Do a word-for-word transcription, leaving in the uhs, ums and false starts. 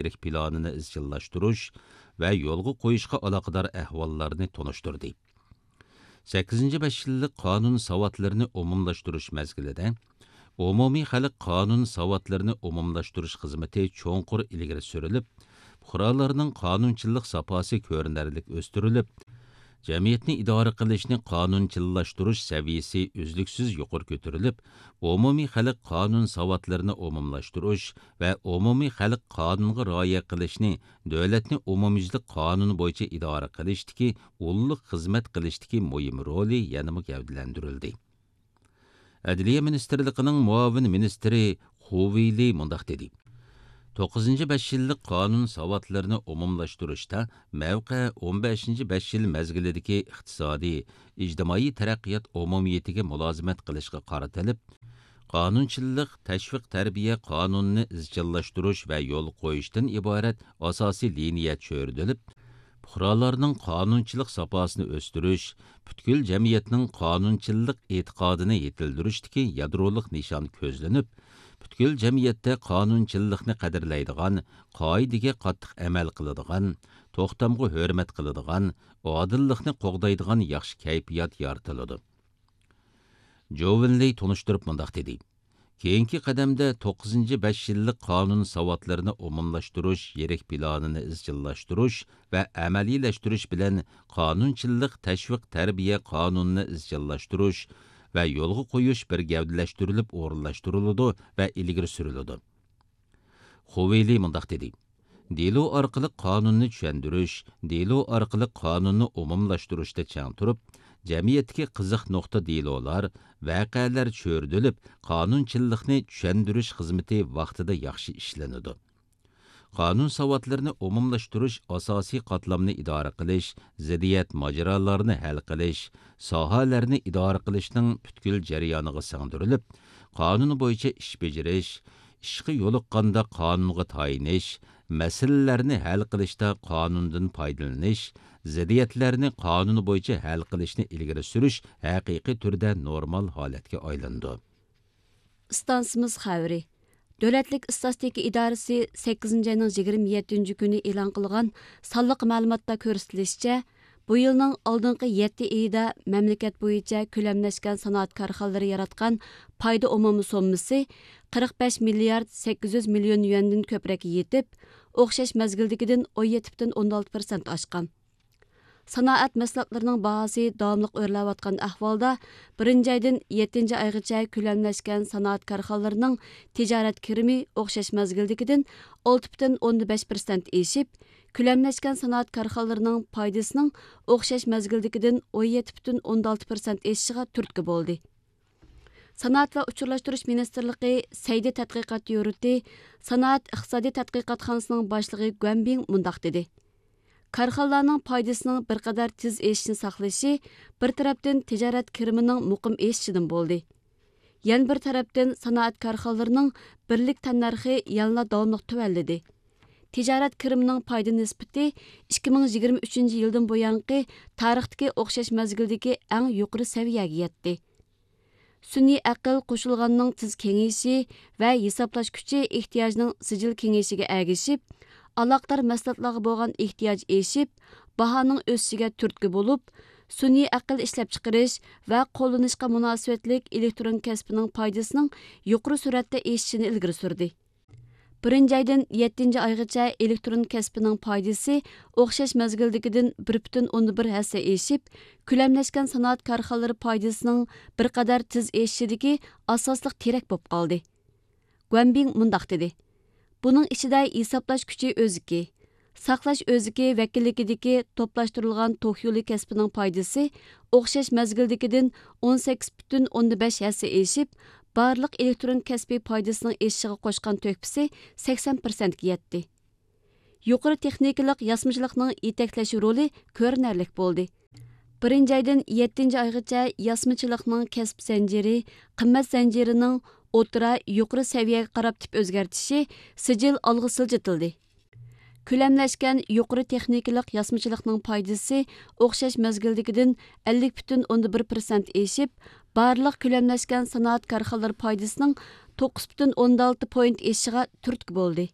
يىرىك پىلانىنى ئىزچىللاشتۇرۇش ۋە يولغا قويۇشقا ئالاقىدار ئەھۋاللارنى تونۇشتۇردى. سەككىزىنچى بەش يىللىق قانۇن ساۋاتلىرىنى ئومۇملاشتۇرۇش مەزگىلىدە، ئومۇمىي خەلق قانۇن ساۋاتلىرىنى ئومۇملاشتۇرۇش خىزمىتى چوڭقۇر ئىلگىرى سۈرۈلۈپ، پۇقرالارنىڭ قانۇنچىللىق ساپاسى كۆرۈنەرلىك ئۆستۈرۈلۈپ، جەمئىيەتنى ئىدارە قىلىشنى قانۇنچىللاشتۇرۇش سەۋىيىسى ئۈزلۈكسىز يۇقىرى كۆتۈرۈلۈپ، ئومۇمىي خەلق قانۇن ساۋاتلىرىنى ئومۇملاشتۇرۇش ۋە ئومۇمىي خەلق قانۇنغا رىئايە قىلىشنى دۆلەتنى ئومۇميۈزلۈك قانۇن بويىچە ئىدارە قىلىشتىكى ئۇللۇق خىزمەت قىلىشتىكى مۇھىم رولى يەنىمۇ گەۋدىلەندۈرۈلدى. ئەدلىيە مىنىستىرلىقىنىڭ مۇئاۋىن مىنىستىرى خۇ ۋېيلى مۇنداق دېدى: توققۇزىنچى بەش يىللىق قانۇن ساۋاتلىرىنى ئومۇملاشتۇرۇشتا مەۋقە ئون بەشىنچى بەش يىل مەزگىلىدىكى ئىقتىسادىي، ئىجتىمائىي تەرەققىيات ئومۇمىيىتىگە مۇلازىمەت قىلىشقا قارىتىلىپ، قانۇنچىللىق تەشۋىق تەربىيە قانۇنىنى ئىزچىللاشتۇرۇش ۋە يولغا قويۇشتىن ئىبارەت ئاساسىي لىنىيە چۆرىدىلىپ، پۇقرالارنىڭ قانۇنچىلىق ساپاسىنى ئۆستۈرۈش، پۈتكۈل جەمئىيەتنىڭ قانۇنچىللىق ئېتىقادىنى يېتىلدۈرۈشتىكى يادرولۇق نىشان كۆزلىنىپ، پۈتكۈل جەمئىيەتتە قانۇنچىللىقنى قەدىرلەيدىغان، قائىدىگە قاتتىق ئەمەل قىلىدىغان، توختامغا ھۆرمەت قىلىدىغان، ئادىللىقنى قوغدايدىغان ياخشى كەيپىيات يارىتىلىدۇ. جوۋېن لېي تونۇشتۇرۇپ مۇنداق دېدى: كېيىنكى قەدەمدە توققۇزىنچى بەش يىللىق قانۇن ساۋاتلىرىنى ئومۇملاشتۇرۇش يىرىك پىلانىنى ئىزچىللاشتۇرۇش ۋە ئەمەلىيلەشتۈرۈش بىلەن قانۇنچىللىق تەشۋىق تەربىيە قانۇنىنى ئىزچىللاشتۇرۇش ۋە يولغا قويۇش بىر گەۋدىلەشتۈرۈلۈپ ئورۇنلاشتۇرۇلىدۇ ۋە ئىلگىرى سۈرۈلىدۇ. خۇ ۋېيلى مۇنداق دېدى: دېلو ئارقىلىق قانۇننى چۈشەندۈرۈش، دېلو ئارقىلىق قانۇننى ئومۇملاشتۇرۇشتا چىڭ تۇرۇپ، جەمئىيەتتىكى قىزىق نۇقتا دېلولار، ۋەقەلەر چۆرىدىلىپ، قانۇنچىللىقنى چۈشەندۈرۈش خىزمىتى ۋاقتىدا ياخشى ئىشلىنىدۇ. قانۇن ساۋاتلىرىنى ئومۇملاشتۇرۇش ئاساسىي قاتلامنى ئىدارە قىلىش، زىددىيەت ماجىرالارنى ھەل قىلىش، ساھەلەرنى ئىدارە قىلىشنىڭ پۈتكۈل جەريانىغا سىڭدۈرۈلۈپ، قانۇن بويىچە ئىش بېجىرىش، ئىشقا يولۇققاندا قانۇنغا تايىنىش، مەسىلىلەرنى ھەل قىلىشتا قانۇندىن پايدىلىنىش، زىددىيەتلەرنى قانۇن بويىچە ھەل قىلىشنى ئىلگىرى سۈرۈش ھەقىقىي تۈردە نورمال ھالەتكە ئايلىنىدۇ. ئىستانسىمىز خەۋىرى. دۆلەتلىك ئىستاتىستىكا ئىدارىسى سەككىزىنچى ئاينىڭ يىگىرمە يەتتىنچى كۈنى ئېلان قىلغان سانلىق مەلۇماتتا كۆرسىتىلىشىچە، بۇ يىلنىڭ ئالدىنقى يەتتە ئېيىدا مەملىكەت بويىچە كۆلەملەشكەن سانائەت كارخانىلىرى ياراتقان پايدا ئومۇمىي سوممىسى قىرىق بەش مىليارد سەككىز يۈز مىليون يۈەندىن كۆپرەككە يېتىپ، ئوخشاش مەزگىلدىكىدىن ئون يەتتە پۈتۈن ئوندىن ئالتە پىرسەنت ئاشقان. سانائەت مەھسۇلاتلىرىنىڭ باھاسى داۋاملىق ئۆرلەۋاتقان ئەھۋالدا، بىرىنچى ئايدىن يەتتىنچى ئايغىچە كۆلەملەشكەن سانائەت كارخانىلىرىنىڭ تىجارەت كىرىمى ئوخشاش مەزگىلدىكىدىن ئالتە پۈتۈن ئوندىن بەش پىرسەنت ئېشىپ، كۆلەملەشكەن سانائەت كارخانىلىرىنىڭ پايدىسىنىڭ ئوخشاش مەزگىلدىكىدىن ئون يەتتە پۈتۈن ئوندىن ئالتە پىرسەنت ئېشىشىغا تۈرتكە بولدى. سانائەت ۋە ئۇچۇرلاشتۇرۇش مىنىستىرلىقى سەيدى تەتقىقات يۇرتى سانائەت ئىقتىسادىي تەتقىقاتخانىسىنىڭ باشلىقى گۇەنبىڭ مۇنداق دېدى: كارخانىلارنىڭ پايدىسىنىڭ بىر قەدەر تېز ئېشىشىنى ساقلىشى بىر تەرەپتىن تىجارەت كىرىمىنىڭ مۇقىم ئېشىشىدىن بولدى. يەنە بىر تەرەپتىن سانائەت كارخانىلىرىنىڭ بىرلىك تەننەرخى يەنىلا داۋاملىق تۆۋەنلىدى. تىجارەت كىرىمىنىڭ پايدا نىسبىتى ئىككى مىڭ يىگىرمە ئۈچىنچى يىلدىن بۇيانقى تارىختىكى ئوخشاش مەزگىلدىكى ئەڭ يۇقىرى سەۋىيەگە يەتتى. سۈنئىي ئەقىل قوشۇلغاننىڭ تېز كېڭىيىشى ۋە ھېسابلاش كۈچى ئېھتىياجنىڭ سىجىل كېڭىيىشىگە ئەگىشىپ، ئالاقىدار مەھسۇلاتلارغا بولغان ئېھتىياج ئېشىپ، باھانىڭ ئۆسۈشىگە تۈرتكە بولۇپ، سۈنئىي ئەقىل ئىشلەپچىقىرىش ۋە قوللىنىشقا مۇناسىۋەتلىك ئېلېكترون كەسپىنىڭ پايدىسىنىڭ يۇقىرى سۈرئەتتە ئېشىشىنى ئىلگىرى سۈردى. بىرىنچى ئايدىن يەتتىنچى ئايغىچە ئېلېكترون كەسپىنىڭ پايدىسى ئوخشاش مەزگىلدىكىدىن بىر پۈتۈن ئوندىن بىر ھەسسە ئېشىپ، كۆلەملەشكەن سانائەت كارخانىلىرى پايدىسىنىڭ بىر قەدەر تېز ئېشىشىدىكى ئاساسلىق تىرەك بولۇپ قالدى. گۇەنبىڭ مۇنداق دېدى: بۇنىڭ ئىچىدە ھېسابلاش كۈچى ئۆزىكى، ساقلاش ئۆزىكى ۋەكىللىكىدىكى توپلاشتۇرۇلغان توك يولى كەسپىنىڭ پايدىسى ئوخشاش مەزگىلدىكىدىن ئون سەككىز پۈتۈن ئوندىن بەش ھەسسە ئېشىپ، بارلىق ئېلېكترون كەسپىي پايدىسىنىڭ ئېشىشىغا قوشقان تۆھپىسى سەكسەن پىرسەنتكە يەتتى. يۇقىرى تېخنىكىلىق ياسىمىچىلىقنىڭ يېتەكلەش رولى كۆرۈنەرلىك بولدى. بىرىنچى ئايدىن يەتتىنچى ئايغىچە ياسىمىچىلىقنىڭ كەسىپ زەنجىرى، قىممەت زەنجىرىنىڭ ئوتتۇرا، يۇقىرى سەۋىيەگە قاراپ تىپ ئۆزگەرتىشى سىجىل ئالغا سىلجىتىلدى. كۆلەملەشكەن يۇقىرى تېخنىكىلىق ياسىمىچىلىقنىڭ پايدىسى ئوخشاش مەزگىلدىكىدىن ئەللىك پۈتۈن ئوندىن بىر پىرسەنت ئېشىپ، بارلىق كۆلەملەشكەن سانائەت كارخانىلىرى پايدىسىنىڭ توققۇز پۈتۈن ئوندىن ئالتە پوينت ئېشىشىغا تۈرتكە بولدى.